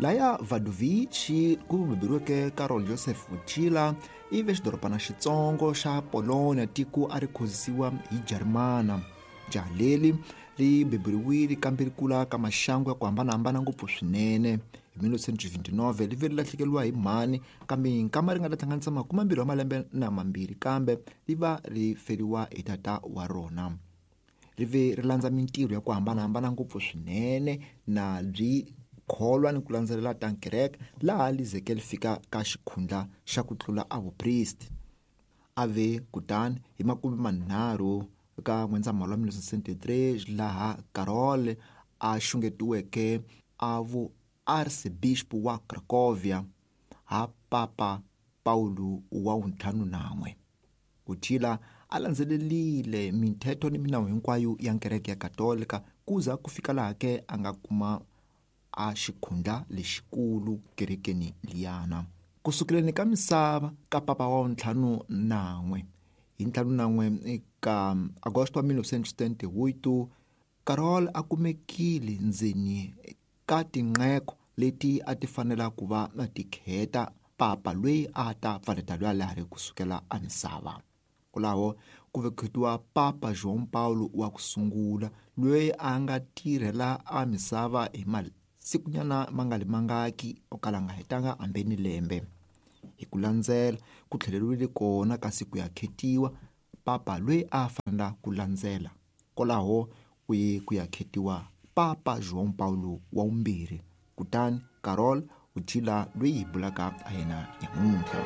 Laya Wadowice ku beburiweke Karol Joseph Wojtyla i ve xidorobana xitsongo xa Polonia tiko a ri khozisiwa hi Jarimana. Jaha leri ri beburiwile kambe ri kula ka maxangu ya ku hambanahambana ngopfu swinene. Hi 1929 ri ve ri lahlekeriwa hi mhani kambe nkama ri nga ta hlanganisa makumembirhi wa malembe na mambirhi kambe ri va ri feriwa hi tata wa rona. Ri ve ri landza mintirho ya ku hambanahambana ngopfu swinene na byi kholwa ni ku landzelela ta kereke laha li zeke li fika ka xikhundla xa ku tlula a vupristi. A ve kutani hi makume manharhu ka N'wendzamhala wa 1973 laha Karol a xungetiweke a vu archbishop wa Cracovia ha Papa Pawulo wa vuntlhanu nan'we. Wojtyla a landzelelile minthetho ni minawu hinkwayo ya kereke ya Katolika kuza ku fika laha ke a nga kuma a xikhundla lexikulu kerekeni liyana. Ku sukeleni ka misava ka papa wa vuntlhanu nan'we hi ntlhanu nan'we ka Agosto wa 1978 Karol a kumekile ndzeni ka tinqeko leti a ti fanela ku va ti kheta papa loyi a ta pfaleta loyi a lehari ku sukela a misava. Kwalaho ku ve khetiwa Papa João Paulo wa ku sungula loyi a nga tirhela a misava hi masikunyana ma nga ri mangaki o kala a nga hetanga hambi ni lembe. Hi ku landzela ku tlheleriwile kona kasi ku ya khetiwa papa loyi a fanela ku landzela. Kwalaho ku ye ku ya khetiwa Papa João Paulo wa vumbirhi kutani Karol Wojtyla loyi hi bulaka ha yena nyamuntlha.